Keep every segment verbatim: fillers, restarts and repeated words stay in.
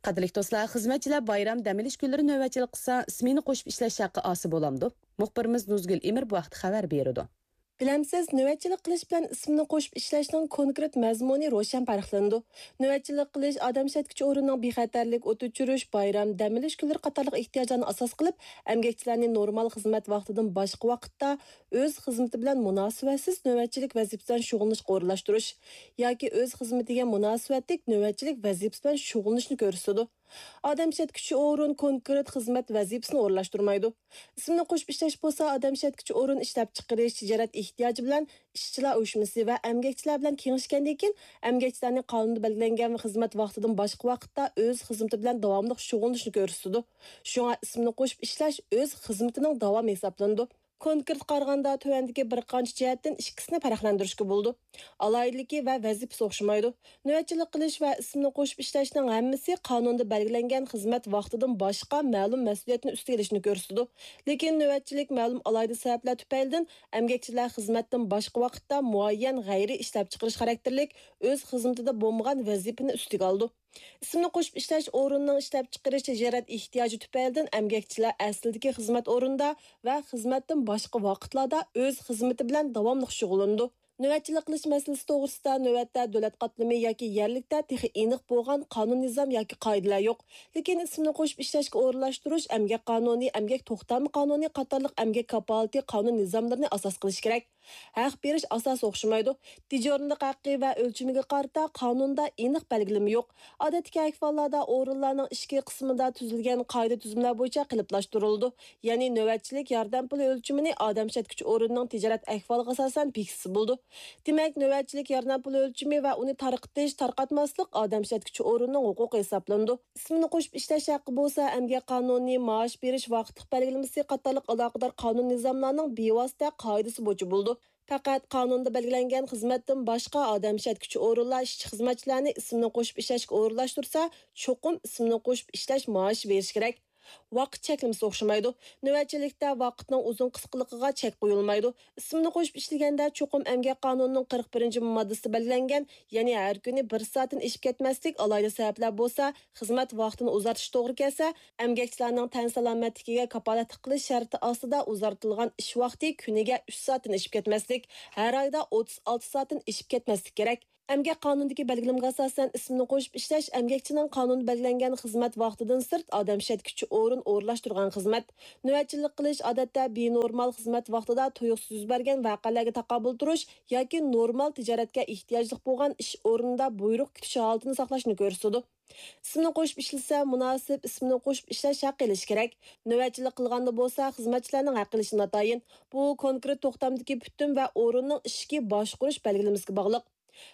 قەدىرلىك دوستلار، خىزمەتچىلەر بايرام، دەم ئېلىش كۈنلىرى نۆۋەتچىلىك قىلسا، سمېنا قوشۇپ ئىشلەش ھەققى ئالسا بولامدۇ؟ مۇخبىرىمىز نۇزگۈل ئىمىر بۇ ھەقتە خەۋەر بېرىدۇ. بىلەمسىز، نۆۋەتچىلىك قىلىش بىلەن ئىسمېنا قوشۇپ ئىشلەشنىڭ كونكرېت مەزمۇنى روشەن پەرقلىنىدۇ. نۆۋەتچىلىك قىلىش ئادەم ئىشلەتكۈچى ئورۇننىڭ بىخەتەرلىك، ئوت ئۆچۈرۈش، بايرام، دەم ئېلىش كۈنلىرى قاتارلىق ئېھتىياجلارنى ئاساس قىلىپ، ئەمگەكچىلەرنى نورمال خىزمەت ۋاقتىدىن باشقا ۋاقىتتا ئۆز خىزمىتى بىلەن مۇناسىۋەتسىز نۆۋەتچىلىك ۋەزىپىسى بىلەن شۇغۇللىنىشقا ئورۇنلاشتۇرۇش ياكى ئۆز خىزمىتىگە مۇناسىۋەتلىك نۆۋەتچىلىك ۋەزىپىسى بىلەن شۇغۇللىنىشنى كۆرسىتىدۇ. ئادەم ئىشلەتكۈچى ئورۇن كونكرېت خىزمەت ۋەزىپىسىنى ئورۇنلاشتۇرمايدۇ. ئىسمىنى قوشۇپ ئىشلەش بولسا ئادەم ئىشلەتكۈچى ئورۇن ئىشلەپچىقىرىش، تىجارەت ئېھتىياجى بىلەن ئىشچىلار ئۇيۇشمىسى ۋە ئەمگەكچىلەر بىلەن كېڭىشكەندىن كېيىن، ئەمگەكچىلەرنى قانۇندا بەلگىلەنگەن خىزمەت ۋاقتىدىن باشقا ۋاقىتتا ئۆز خىزمىتى بىلەن داۋاملىق شۇغۇللىنىشنى كۆرسىتىدۇ. شۇڭا ئىسمىنى قوشۇپ ئىشلەش ئۆز خىزمىتىنىڭ داۋامى ھېسابلىنىدۇ. كونكرېت قارىغاندا، تۆۋەندىكى بىر قانچە جەھەتتىن ئىككىسىنى پەرقلەندۈرۈشكە بولىدۇ. ئالاھىدىلىكى ۋە ۋەزىپىسى ئوخشىمايدۇ. نۆۋەتچىلىك قىلىش ۋە ئىسمىنى قوشۇپ ئىشلەشنىڭ ھەممىسى قانۇندا بەلگىلەنگەن خىزمەت ۋاقتىدىن باشقا مەلۇم مەسئۇلىيەتنى ئۈستىگە ئېلىشنى كۆرسىتىدۇ. لېكىن نۆۋەتچىلىك مەلۇم ئالاھىدە سەۋەبلەر تۈپەيلىدىن ئەمگەكچىلەر خىزمەتتىن باشقا ۋاقىتتا مۇئەييەن غەيرىي ئىشلەپچىقىرىش خاراكتېرلىك ئۆز خىزمىتىدە بولمىغان ۋەزىپىنى ئۈستىگە ئالىدۇ. ئىسىمنى قوشۇپ ئىشلەش ئورنىنىڭ ئىشلەپچىقىرىش تىجارەت ئېھتىياجى تۈپەيلىدىن ئەمگەكچىلەر ئەسلىدىكى خىزمەت ئورنىدا ۋە خىزمەتتىن باشقا ۋاقىتلاردا ئۆز خىزمىتى بىلەن داۋاملىق شۇغۇللىنىدۇ. نۆۋەتچىلىك قىلىش مەسىلىسى توغرىسىدا نۆۋەتتە دۆلەت قاتلىمى ياكى يەرلىكتە تېخى ئېنىق بولغان قانۇن نىزام ياكى قائىدىلەر يوق. لېكىن ئىسىمنى قوشۇپ ئىشلەشكە ئورۇنلاشتۇرۇش، ئەمگەك قانۇنى، ئەمگەك توختامى قانۇنى قاتارلىق ئەمگەك كاپالىتى قانۇن نىزاملىرىنى ئاساس قىلىش كېرەك. ھەق بېرىش ئاساسى ئوخشىمايدۇ. دېجورنىلىق ھەققى ۋە ئۆلچىمىگە قارىتا قانۇندا ئېنىق بەلگىلىمە يوق. ئادەتتىكى ئەھۋاللاردا ئورۇنلارنىڭ ئىچكى قىسمىدا تۈزۈلگەن قائىدە-تۈزۈملەر بويىچە قېلىپلاشتۇرۇلىدۇ. يەنى نۆۋەتچىلىك ياردەم پۇلى ئۆلچىمىنى ئادەم ئىشلەتكۈچى ئورۇننىڭ تىجارەت ئەھۋالىغا ئاساسەن بېكىتسە بولىدۇ. دېمەك، نۆۋەتچىلىك ياردەم پۇلى ئۆلچىمى ۋە ئۇنى تارقىتىش، تارقاتماسلىق ئادەم ئىشلەتكۈچى ئورۇننىڭ ھوقۇقى ھېسابلىنىدۇ. ئىسمىنى قوشۇپ ئىشلەش ھەققى بولسا ئەمگەك قانۇنى، مائاش بېرىش ۋاقىتلىق بەلگىلىمىسى قاتارلىق ئالاقىدار قانۇن نىزاملارنىڭ بىۋاسىتە قائىدىسى بويىچە بولىدۇ. پەقەت قانۇندا بەلگىلەنگەن خىزمەتتىن باشقا ئادەم ئىشلەتكۈچى ئورۇنلار ئىشچى-خىزمەتچىلەرنى ئىسمىنى قوشۇپ ئىشلەشكە ئورۇنلاشتۇرسا، چوقۇم ئىسمىنى قوشۇپ ئىشلەش مائاشى بېرىشى كېرەك. ۋاقىت چەكلىمىسى ئوخشىمايدۇ. نۆۋەتچىلىكتە ۋاقىتنىڭ ئۇزۇن قىسقىلىقىغا چەك قويۇلمايدۇ. ئىسمىنى قوشۇپ ئىشلىگەندە، چوقۇم ئەمگەك قانۇنىنىڭ قىرىق بىرىنچى ماددىسىدا بەلگىلەنگەن، يەنى ھەر كۈنى بىر سائەتتىن ئېشىپ كەتمەسلىك، ئالاھىدە سەۋەبلەر بولسا، خىزمەت ۋاقتىنى ئۇزارتىش توغرا كەلسە، ئەمگەكچىلەرنىڭ تەن سالامەتلىكىگە كاپالەتلىك قىلىش شەرتى ئاستىدا ئۇزارتىلغان ئىش ۋاقتى كۈنىگە ئۈچ سائەتتىن ئېشىپ كەتمەسلىك، ھەر ئايدا ئوتتۇز ئالتە سائەتتىن ئېشىپ كەتمەسلىك كېرەك. ئەمگەك قانۇنىدىكى بەلگىلىمىگە ئاساسەن، ئىسمىنى قوشۇپ ئىشلەش ئەمگەكچىنىڭ قانۇندا بەلگىلەنگەن خىزمەت ۋاقتىدىن سىرت ئادەم ئىشلەتكۈچى ئورۇن ئورۇنلاشتۇرغان خىزمەت. نۆۋەتچىلىك قىلىش ئادەتتە بىنورمال خىزمەت ۋاقتىدا تۇيۇقسىز يۈز بەرگەن ۋەقەلەرگە تاقابىل تۇرۇش ياكى نورمال تىجارەتكە ئېھتىياجلىق بولغان ئىش ئورنىدا بۇيرۇق كۈتۈش ھالىتىنى ساقلاشنى كۆرسىتىدۇ. ئىسمىنى قوشۇپ ئىشلىسە، مۇناسىپ ئىسمىنى قوشۇپ ئىشلەش ھەققى ئېلىشى كېرەك. نۆۋەتچىلىك قىلغاندا بولسا، خىزمەتچىلەرنىڭ ھەققى ئېلىشى ناتايىن. بۇ كونكرېت توختامدىكى پۈتۈن ۋە ئورۇننىڭ ئىچكى باشقۇرۇش بەلگىلىمىسىگە باغلىق.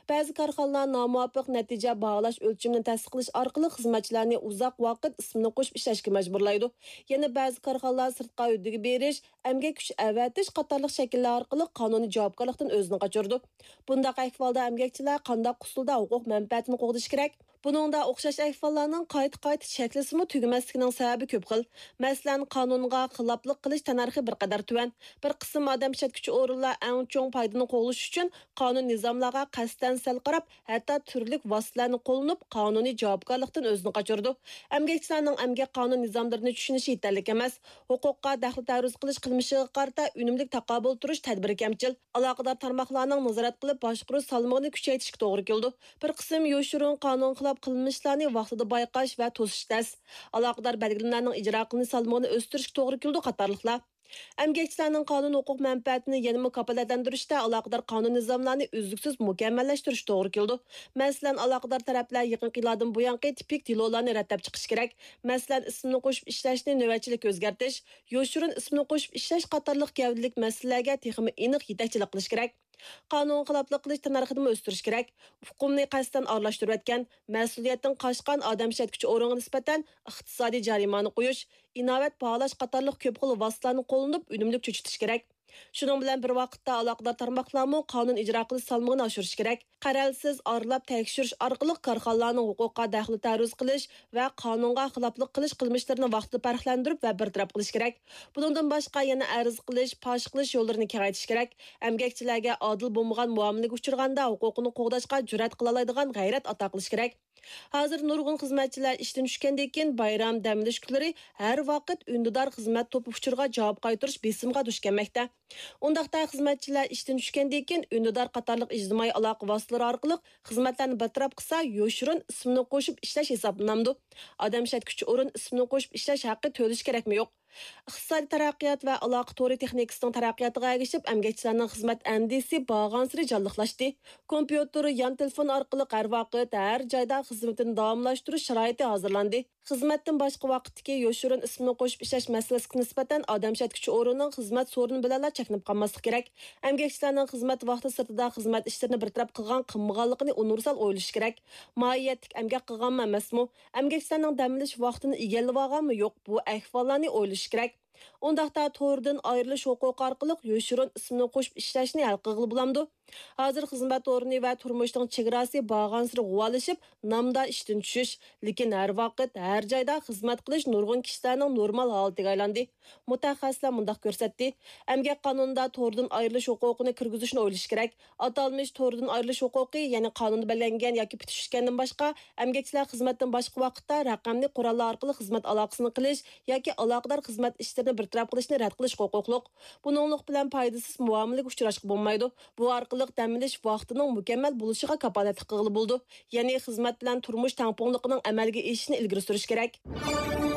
بەزى كارخانىلار نامۇۋاپىق نەتىجە باھالاش ئۆلچىمىنى تەستىقلىش ئارقىلىق خىزمەتچىلەرنى ئۇزاق ۋاقىت ئىسمىنى قوشۇپ ئىشلەشكە مەجبۇرلايدۇ. يەنە بەزى كارخانىلار سىرتقا ھۆددىگە بېرىش، ئەمگەك كۈچى ئەۋەتىش قاتارلىق شەكىللەر ئارقىلىق قانۇنىي جاۋابكارلىقتىن ئۆزىنى قاچۇرىدۇ. بۇنداق ئەھۋالدا ئەمگەكچىلەر قانداق ئۇسۇلدا ھوقۇق مەنپەئەتىنى قوغدىشى كېرەك؟ بۇنىڭدا ئوخشاش ئەھۋاللارنىڭ قايتا-قايتا چەكلىسىمۇ تۈگىمەسلىكىنىڭ سەۋەبى كۆپ خىل. مەسىلەن، قانۇنغا خىلاپلىق قىلىش تەننەرخى بىر قەدەر تۆۋەن. بىر قىسىم ئادەم ئىشلەتكۈچى ئورۇنلار ئەڭ چوڭ پايدىنى قوغلىشى ئۈچۈن قانۇن نىزاملارغا قەستەن سەل قاراپ، ھەتتا تۈرلۈك ۋاسىتىلەرنى قوللىنىپ، قانۇنىي جاۋابكارلىقتىن ئۆزىنى قاچۇرىدۇ. ئەمگەكچىلەرنىڭ ئەمگەك قانۇن نىزاملىرىنى چۈشىنىشى يېتەرلىك ئەمەس. ھوقۇققا دەخلى تەرۇز قىلىش قىلمىشىغا قارىتا ئۈنۈملۈك تاقابىل تۇرۇش تەدبىرى كەمچىل. ئالاقىدار تارماقلارنىڭ نازارەت قىلىپ باشقۇرۇش سالمىقىنى كۈچەيتىشكە توغرا كېلىدۇ. بىر قىسىم يوشۇرۇن قانۇن خىلاپ قىلمىشلارنى ۋاقتىدا بايقاش ۋە توسۇش تەس. ئالاقىدار بەلگىلىمىلەرنىڭ ئىجرا قىلىنىش سالمىقىنى ئۆستۈرۈشكە توغرا كېلىدۇ قاتارلىقلار. ئەمگەكچىلەرنىڭ قانۇن ھوقۇق مەنپەئەتىنى يەنىمۇ كاپالەتلەندۈرۈشتە ئالاقىدار قانۇن نىزاملارنى ئۈزلۈكسىز مۇكەممەللەشتۈرۈش توغرا كېلىدۇ. مەسىلەن، ئالاقىدار تەرەپلەر يېقىنقى يىللاردىن بۇيانقى تىپىك دېلولارنى رەتلەپ چىقىشى كېرەك. مەسىلەن، ئىسىمنى قوشۇپ ئىشلەشنى نۆۋەتچىلىككە ئۆزگەرتىش، يوشۇرۇن ئىسىمنى قوشۇپ ئىشلەش قاتارلىق گەۋدىلىك مەسىلىلەرگە تېخىمۇ ئېنىق يېتەكچىلىك قىلىش كېرەك. قانۇن خىلاپلىق قىلىش تەننەرخىنىمۇ ئۆستۈرۈش كېرەك. ئۇقۇمنى قەستەن ئارىلاشتۇرۇۋەتكەن، مەسئۇلىيەتتىن قاچقان ئادەم ئىشلەتكۈچى ئورۇنغا نىسبەتەن ئىقتىسادىي جەرىمانە قويۇش، ئىناۋەت باھالاش قاتارلىق كۆپ خىل ۋاسىتىلەرنى قوللىنىپ ئۈنۈملۈك چۆچۈتۈش كېرەك. شۇنىڭ بىلەن بىر ۋاقىتتا، ئالاقىدار تارماقلارمۇ قانۇن ئىجرا قىلىش سالمىقىنى ئاشۇرۇشى كېرەك. قەرەلسىز ئارىلاپ تەكشۈرۈش ئارقىلىق كارخانىلارنىڭ ھوقۇقىغا دەخلى تەرۇز قىلىش ۋە قانۇنغا خىلاپلىق قىلىش قىلمىشلىرىنى ۋاقتىدا پەرقلەندۈرۈپ ۋە بىر تەرەپ قىلىش كېرەك. بۇنىڭدىن باشقا، يەنە ئەرز قىلىش، پاش قىلىش يوللىرىنى كېڭەيتىش كېرەك. ئەمگەكچىلەرگە ئادىل بولمىغان مۇئامىلىگە ئۇچرىغاندا، ھوقۇقىنى قوغداشقا جۈرئەت قىلالايدىغان غەيرەت ئاتا قىلىش كېرەك. ھازىر نۇرغۇن خىزمەتچىلەر ئىشتىن چۈشكەندىن كېيىن، بايرام، دەم ئېلىش كۈنلىرى ھەر ۋاقىت ئۈندىدار خىزمەت توپى ئۇچۇرىغا جاۋاب قايتۇرۇش بېسىمىغا دۇچ كەلمەكتە. ئۇنداقتا، خىزمەتچىلەر ئىشتىن چۈشكەندىن كېيىن ئۈندىدار قاتارلىق ئىجتىمائىي ئالاقە ۋاسىتىلىرى ئارقىلىق خىزمەتلەرنى بىر تەرەپ قىلسا، يوشۇرۇن ئىسىمنى قوشۇپ ئىشلەش ھېسابلىنامدۇ؟ ئادەم ئىشلەتكۈچى ئورۇن ئىسمىنى قوشۇپ ئىشلەش ھەققى تۆلىشى كېرەكمۇ يوق؟ ئىقتىسادىي تەرەققىيات ۋە ئالاقە تورى تېخنىكىسىنىڭ تەرەققىياتىغا ئەگىشىپ، ئەمگەكچىلەرنىڭ خىزمەت ئەندىزىسى بارغانسېرى جانلىقلاشتى. كومپيۇتېر، يان تېلېفون ئارقىلىق ھەر ۋاقىت، ھەر جايدا خىزمىتىنى داۋاملاشتۇرۇش شارائىتى ھازىرلاندى. خىزمەتتىن باشقا ۋاقىتتىكى يوشۇرۇن ئىسىمنى قوشۇپ ئىشلەش مەسىلىسىگە نىسبەتەن ئادەم ئىشلەتكۈچى ئورۇننىڭ خىزمەت سورۇنى بىلەنلا چەكلىنىپ قالماسلىقى كېرەك. ئەمگەكچىلەرنىڭ خىزمەت ۋاقتى سىرتىدا خىزمەت ئىشلىرىنى بىر تەرەپ قىلغان، قىلمىغانلىقىنى ئۇنىۋېرسال ئويلىشى كېرەك. ماھىيەتلىك ئەمگەك قىلغانمۇ ئەمەسمۇ؟ ئەمگەكچىلەرنىڭ دەم ئېلىش ۋاقتىنى ئىگىلىۋالغانمۇ يوق؟ بۇ ئەھۋاللارنى ئويلىشى كېرەك. ئۇنداقتا، توردىن ئايرىلىش ھوقۇقى ئارقىلىق يوشۇرۇن ئىسىمنى قوشۇپ ئىشلەشنى ھەل قىلغىلى بولامدۇ؟ ھازىر خىزمەت ئورنى ۋە تۇرمۇشنىڭ چېگراسى بارغانسېرى غۇۋالىشىپ، نامدا ئىشتىن چۈشۈش، لېكىن ھەر ۋاقىت، ھەر جايدا خىزمەت قىلىش نۇرغۇن كىشىلەرنىڭ نورمال ھالىتىگە ئايلاندى. مۇتەخەسسىسلەر مۇنداق كۆرسەتتى، ئەمگەك قانۇنىدا توردىن ئايرىلىش ھوقۇقىنى كىرگۈزۈشنى ئويلىشى كېرەك. ئاتالمىش توردىن ئايرىلىش ھوقۇقى، يەنى قانۇندا بەلگىلەنگەن ياكى پۈتۈشۈشكەندىن باشقا، ئەمگەكچىلەر خىزمەتتىن باشقا ۋاقىتتا رەقەملىك قوراللار ئارقىلىق خىزمەت ئالاقىسىنى قىلىش ياكى ئالاقىدار خىزمەت ئىشلىرىنى بىر تەرەپ قىلىشنى رەت قىلىشقا ھوقۇقلۇق. بۇنىڭلىق بىلەن پايدىسىز مۇئامىلىگە ئۇچراشقا بولمايدۇ. بۇ ئارقىلىق دەم ئېلىش ۋاقتىنىڭ مۇكەممەل بولۇشىغا كاپالەتلىك قىلغىلى بولىدۇ. يەنى خىزمەت بىلەن تۇرمۇش تەڭپۇڭلۇقىنىڭ ئەمەلگە ئېشىشىنى ئىلگىرى سۈرۈش كېرەك.